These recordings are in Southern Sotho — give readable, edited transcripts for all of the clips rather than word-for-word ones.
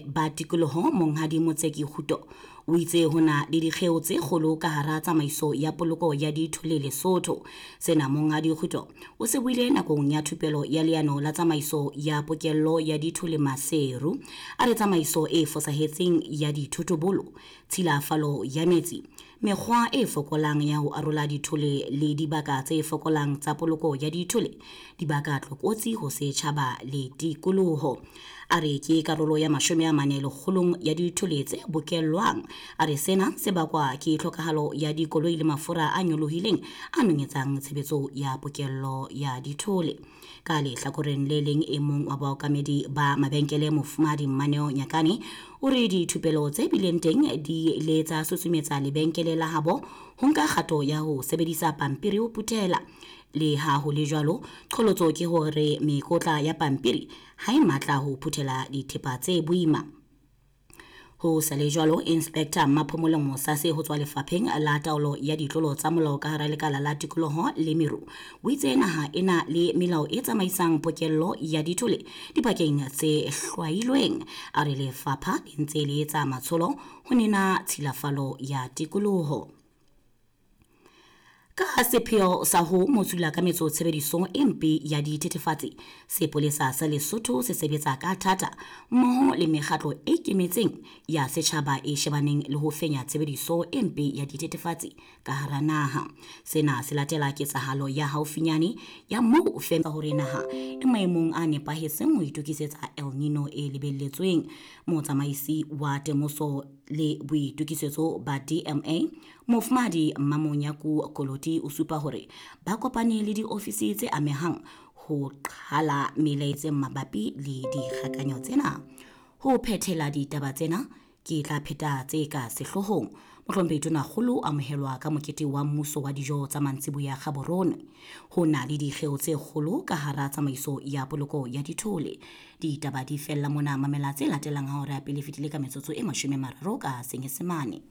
Ba tikoloho Monghadi Motseki Kguto o itse ho na le dikgeo tse kgolo ka hara tsamaiso ya poloko ya dithole Lesotho. Sena Monghadi Kguto o se buile nakong ya thupelo ya leano la tsamaiso ya pokello ya dithole Maseru. A re tsamaiso e fosahetseng ya dithotobolo, tshilafalo ya metsi, mekgwa e fokolang ya ho arola dithole le dibaka tse fokolang tsa poloko ya dithole di baka tlokotsi ho setjhaba le tikoloho. A re ke karolo ya 40 lekgolong ya dithole tse bokellwang. A re sena se bakwa ke tlhokahalo ya dikoloi le mafura a nyolohileng a nonyetsang tshebetso ya pokello ya dithole. Ka lehlakoreng le leng, e mong wa baokamedi ba mabenkele Mofumahadi Mmaneo Nyakane o re dithupelo tse bileng teng di ile tsa susumetsa lebenkele la habo ho nka kgato ya ho sebedisa pampiri ho phuthela. Le ha ho le jwalo, qholotso ke hore mekotla ya pampiri ha e matla ho phuthela dithepa tse boima. Ho sa le jwalo, Inspector Mmaphomolo Mosase ho tswa lefapheng la taolo ya ditlolo tsa molao ka hara lekala la tikoloho le meru o itse naha e na le melao e tsamaisang pokello ya dithole dibakeng tse hlwailweng. A re lefapha le ntse le etsa matsholo ho nena tshilafalo ya tikoloho. Ka sepheo sa ho motsula ka metso tshebediso e mpe ya dithethefatsi, sepolesa sa Lesotho se sebetsa ka thata mmoho le mekgatlo e ikemetseng ya setjhaba e shebaneng le ho fenya tshebediso e mpe ya dithethefatsi ka hara naha. Sena se latela ketsahalo ya haufinyane ya moo fema hore naha e maemong a nepahetseng ho itokisetsa El Nino e lebelletsweng. Motsamaisi wa temoso le boitokisetso ba DMA Mofumahadi Mmamonyaku Koloti o supa hore ba kopane le diofisi tse amehang ho qhala melaetseng mabapi le dikgakanyo tsena. Ho phethela ditaba tsena ke tla pheta tse ka sehloohong. Mohlomphehi Tonakgolo o amohelwa ka mokete wa mmuso wa dijo tsa mantsiboya Gaborone. Ho na le dikgeo tse kgolo ka hara tsamaiso ya poloko ya dithole. Ditaba di fella mona, mamela tse latelang ha hora ya pele fetile ka metsotso e 30 ka Senyesemane.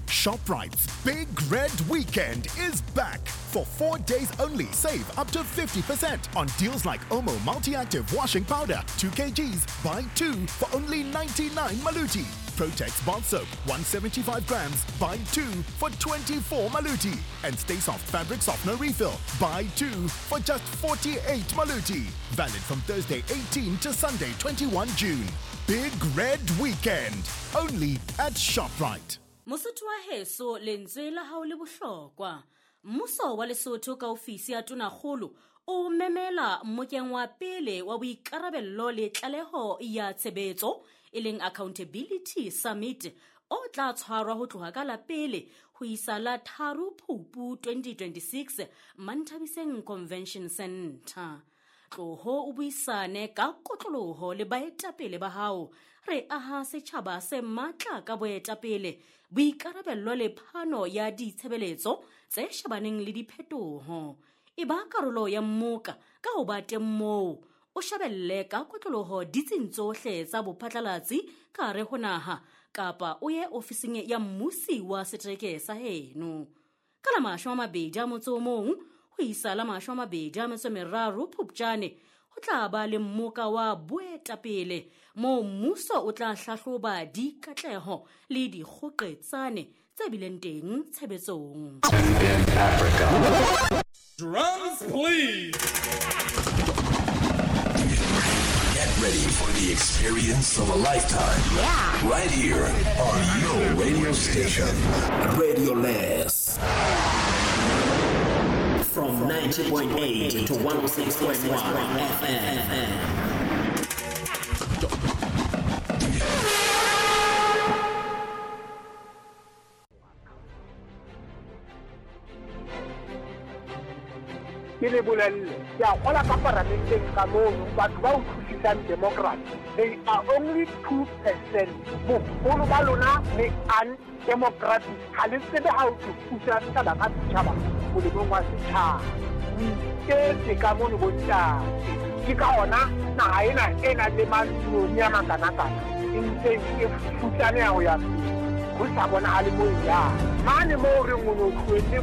ShopRite's Big Red Weekend is back. For 4 days only, save up to 50% on deals like Omo Multi-Active Washing Powder, 2 kgs, buy 2 for only 99 Maluti. Protex Bath Soap, 175 grams, buy 2 for 24 Maluti. And Stay Soft Fabric Softener Refill, buy 2 for just 48 Maluti. Valid from Thursday 18 to Sunday 21 June. Big Red Weekend, only at ShopRite. Mosotho wa heso, lentswe la hao le bohlokwa. Mmuso wa Lesotho ka ofisi ya Tonakgolo o memela mmokeng wa pele wa boikarabello le tlaleho ya tshebetso e leng Accountability Summit o tla tshwarwa ho tloha ka la pele ho isa la 3 Phupu 2026 Manthabiseng Convention Center. Tloho o buisane ka kotloloho le baetapele ba hao. Re aha setjhaba se matla ka boetapele, boikarabello le phano ya ditshebeletso tse shebaneng le diphetoho. E ba karolo ya mmoka ka ho ba teng moo, o shebelle ka kotloloho ditsing tsohle tsa bophatlalatsi ka hare ho naha kapa o ye ofising ya mmusi wa setereke sa heno. Ka la 21 ho isa la 23 Phupjane ho tla ba le mmoka wa boetapele moo mmuso o tla hlahloba dikatleho le dikgoqetsane tse bileng teng tshebetsong. Drums, please. Get ready for the experience of a lifetime. Yeah. Right here on your radio station. Radio Less. From 90.8 to 106.1 FM. Ke le bolelle, ke a kgola ka paramenteng ka mono, batho ba utlwisisang democracy, they are only 2%. Boholo ba lona le undemocratic, ha le tsebe ha o tlo pusa setjhaba ka setjhaba molemong wa setjhaba. O iketse ka mono bontate. Ke ka hona naha ena e nang le matloni a makanakana e ntse e futsaneha ho ya pele, ho sa bonahale moo e yang. Mane moo re ngwe no tlohelle.